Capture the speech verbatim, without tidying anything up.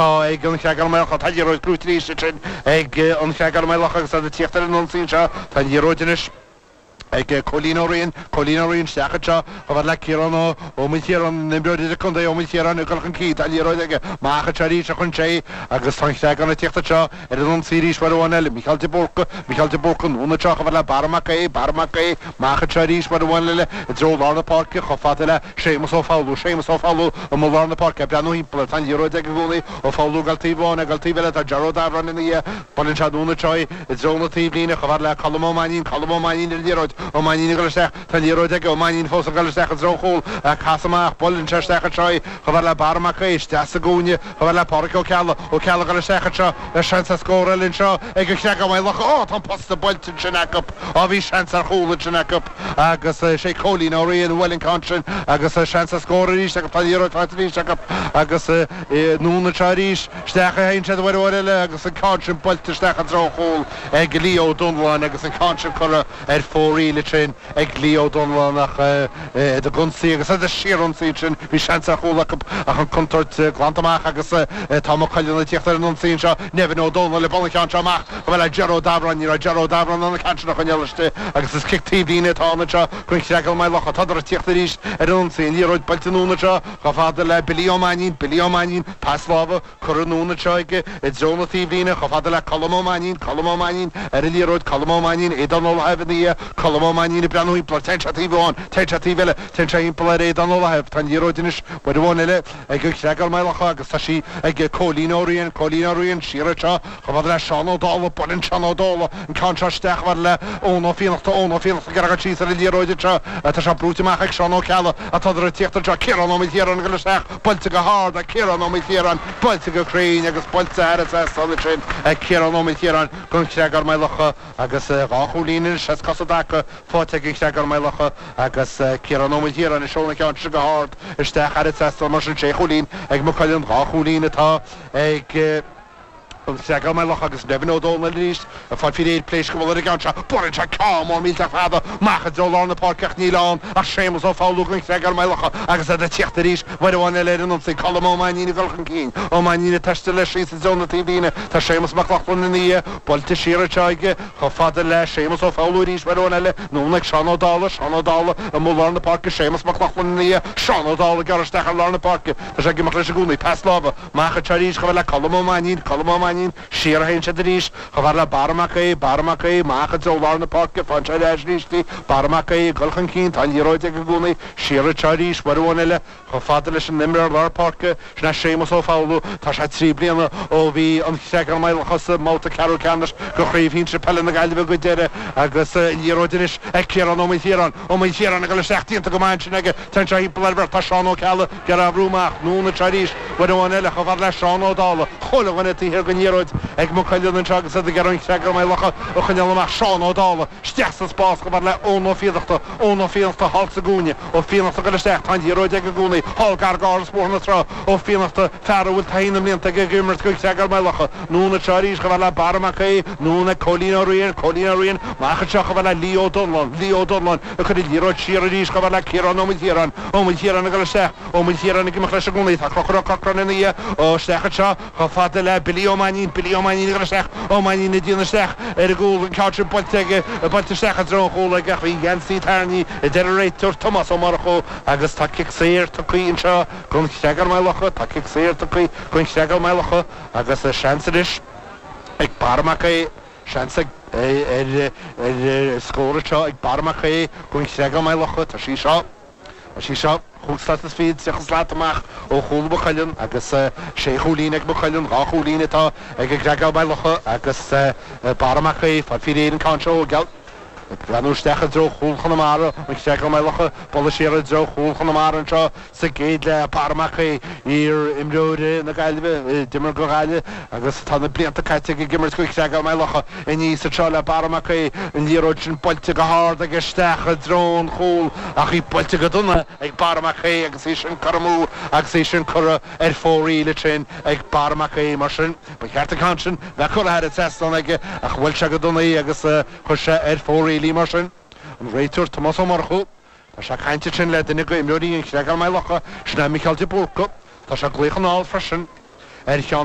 atá ag an Chreagán Maigh Locha. Tá an liathróid gnóite arís ansin ag an Chreagán Maigh Locha agus iad ag tíocht ar an ionsaí anseo. Tá an liathróid anois ag Cóilín Ó Riain, Cóilín Ó Riain isteach anseo chomh fada le Ciarán Ó Maoilchiaráin, an imreoir idirchontae Ó Maoilchiaráin ag dul chun cinn, tá an liathróid aige amach anseo arís a chun agus tá an Chreagán ag tíocht anseo ar an ionsaí arís uair amháin eile, Micheál de Búrca, Micheál de Búrca anonn anseo chomh fada le Barra Mac Aodha, Barra Mac Aodha, amach anseo arís uair amháin eile i dtreo lár na páirce chomh fada le Séamus Ó Foghlú, Séamus Ó Foghlú amuigh lár na páirce, ag breathnú thimpeall air, tá an liathróid aige i gcónaí, Ó Foghlú ag dul taobh amháin, ag dul taobh eile, tá Ger Ó Dabhráin ina dhiaidh, buaileann sé anonn anseo í i dtreo na taobhlíne chomh fada le Colm Ó Mainnín, Colm Ó Mainnín ar an liathróid, Ó Mainnín ag dul isteach, tá an liathróid aige, Ó Mainnín fós ag dul isteach i dtreo an chúil, casadh amach, buaileann sé isteach anseo í chomh fada le Barra Mac Aodha, isteach sa gcúinne chomh fada le Pádraic Ó Ceallaigh, Ó Ceallaigh ag dul isteach anseo le seans ar scór eile anseo ag an Chreagán Maigh Locha, Ó, tá an posta buailte ansin acu, á bhí seans ar chúl ansin acu agus sé Cóilín Ó Riain a bhuail an ceann sin agus seans ar scór arís acu, tá an liathróid faighte arís acu agus anonn anseo arís, isteach a théann siad uair amháin eile agus an ceann sin buailte isteach i dtreo an chúil ag Leo Ó Donnláin agus an ceann sin curtha ar fóraoil ansin ag Leo Ó Donnláin ach iad ag ionsaí agus iad ag síorionsaí ansin bhí seans ar chúl acu ach an contúirt glanta amach agus tá Maigh Cuilinn ag tíocht ar an ionsaí anseo Nevin Ó Dónaill ag bualadh an ceann seo amach go bhfuil Ger Ó Dabhráin ní raibh Ger Ó Dabhráin in ann an ceann sin a choinneáil istigh agus is cic taobhlíne atá ann anseo don Chreagán Maigh Locha tádar ag tíocht arís ar an ionsaí an liathróid buailte anonn anseo chomh fada le Billy Ó Mainnín Billy Ó Mainnín pas láimhe curtha anonn anseo aige i dtreo na taobhlíne chomh fada le Colm Ó Mainnín Colm Ó Mainnín ar an liathróid Colm Ó Mainnín Aodán Ó Lathaimh ina dhiaidh Colm Ó Mainnín ag breathnú thimpeall téann sé taobh amháin téann sé taobh eile téann sé thimpeall ar Aodán Ó Lathaimh tá an liathróid anois uair amháin eile ag an Chreagán Maigh Locha agus tá sí ag Cóilín Ó Riain Cóilín Ó Riain siar anseo chomh fada le Seán Ó Dálaigh buaileann Seán Ó Dálaigh an ceann seo isteach chomh fada le Eoin Ó Fiannachta Eoin Ó Fiannachta ag iarraidh síos ar an liathróid anseo tá sé brúite amach ag Seán Ó Ceallaigh atá ag tíocht anseo Ciarán Ó Maoilchiaráin ag dul isteach buailte go hard ag Ciarán Ó Maoilchiaráin buailte go cruinn agus buailte thar an trasnán sin ag Ciarán Ó Maoilchiaráin don Chreagán Maigh Locha agus dhá chúilín anois as cosa i dtaca faighte ag an Chreagán Maigh Locha agus Ciarán Ó Maoilchiaráin ag seoladh an ceann sin go hard isteach thar an trasnán mar sin sé chúilín ag Maigh Cuilinn dhá chúilín atá ag an Chreagán Maigh Locha agus Nevin Ó Dónaill arís ag fáil faoi réir pléisc go bhfuil ar an gceann seo buaileann sé ceann mór millteach fada amach i dtreo lár na páirce ach níl ann ach Séamus Ó Foghlú don Chreagán Maigh Locha agus iad ag tíocht arís uair amháin eile ar an ionsaí Colm Ó Mainnín ag dul chun cinn Ó Mainnín ag taisteal leis síos i dtreo na taobhlíne tá Séamus Mac Lochlainn ina dhiaidh buailte siar anseo aige chomh fada le Séamus Ó Foghlú arís uair amháin eile anonn ag Seán Ó Dálaigh Seán Ó Dálaigh amuigh lár na páirce Séamus Mac Lochlainn ina dhiaidh Seán Ó Dálaigh gearr isteach ar lár na páirce tá sé ag imeacht leis i gcónaí pas láimhe amach anseo arís chomh le Colm Ó Mainnín Colm Ó Mainnín siar a théann siad arís chomh fada le Barra Mac Aodha Barra Mac Aodha amach i dtreo lár na páirce faigheann sé ar ais arís í Barra Mac Aodha ag dul chun cinn tá an liathróid aige i gcónaí siar anseo arís uair amháin eile chomh fada leis an imreoir lár páirce sin é Séamus Ó Foghlú tá sé trí bliana ó bhí an Chreagán Maigh Locha sa mbabhta ceathrú ceannais de Chraobh Shinsir Peile na Gaillimhe go deireadh agus an liathróid anois ag Ciarán Ó Maoilchiaráin Ó Maoilchiaráin ag dul isteach déanta go maith ansin aige téann sé thimpeall ar bheirt tá Seán Ó Ceallaigh ag iarraidh brú amach anonn anseo arís uair amháin eile chomh fada le Seán Ó Dálaigh chuile dhuine taobh thiar den liathróid ag Maigh Cuilinn anseo agus iad ag iarraidh an Chreagán Maigh Locha a choinneáil amach Seán Ó Dálaigh isteach sa spás chomh fada le Eoin Ó Fiannachta Eoin Ó Fiannachta thall sa gcúinne Ó Fiannachta ag dul isteach tá an liathróid aige i gcónaí thall gar d'Áras Bhóthar na Trá Ó Fiannachta fear a bhfuil taithí na mblianta aige ag imirt don Chreagán Maigh Locha anonn anseo arís chomh fada le Barra Mac Aodha anonn ag Cóilín Ó Riain Cóilín Ó Riain amach anseo chomh fada le Leo Ó Donnláin Leo Ó Donnláin ag cur an liathróid siar arís chomh fada le Ciarán Ó Maoilchiaráin Ó Maoilchiaráin ag dul isteach Ó Maoilchiaráin ag imeacht leis i gcónaí tá Conchúr Ó Corcráin ina dhiaidh ó isteach anseo chomh fada le Billy Ó Mainnín Billy Ó Mainnín ag dul isteach Ó Mainnín ag déanamh isteach ar an gcúl an ceann sin buailte aige buailte isteach i dtreo an chúil aige ach bhí geansaí tarraingthe a deir an réiteoir Tomás Ó Murchú agus tá cic saor tugtha anseo don Chreagán Maigh Locha tá cic saor tugtha don Chreagán Maigh Locha agus seans anois ag Barra Mac Aodha seans ag ar ar scór anseo ag Barra Mac Aodha don Chreagán Maigh Locha tá sí seo tá sí seo chúig slat is fiche tríocha slat amach ó chúl Mhaigh Cuilinn agus sé chúilín ag Maigh Cuilinn dhá chúilín atá ag an gCreagán Maigh Locha agus Barra Mac Aodha fáil faoi réir an ceann seo geall breathnú isteach i dtreo chúl Chonamara an Chreagán Maigh Locha bualadh siar i dtreo chúl Chonamara anseo sa gcéad leath Barra Mac Aodha iar-imreoir na Gaillimhe d'imir do Ghaillimh agus tá na blianta caite ag imirt don Chreagán Maigh Locha aníos anseo le Barra Mac Aodha an liathróid sin buailte go hard aige isteach i dtreo an chúl ach í buailte go dona ag Barra Mac Aodha agus í sin curtha amú agus í sin curtha ar fóraoil ansin ag Barra Mac Aodha mar sin ba cheart an ceann sin bheith curtha thar an trasnán aige ach bhuail sé go dona í agus chuir sé ar fóraoil í mar sin an réiteoir Tomás Ó Murchú Tá sé ag caint ansin le duine d'imreoirí an Chreagáin Maigh Locha sin é Micheál de Búrca Tá sé ag glaoch anall freisin ar Sheán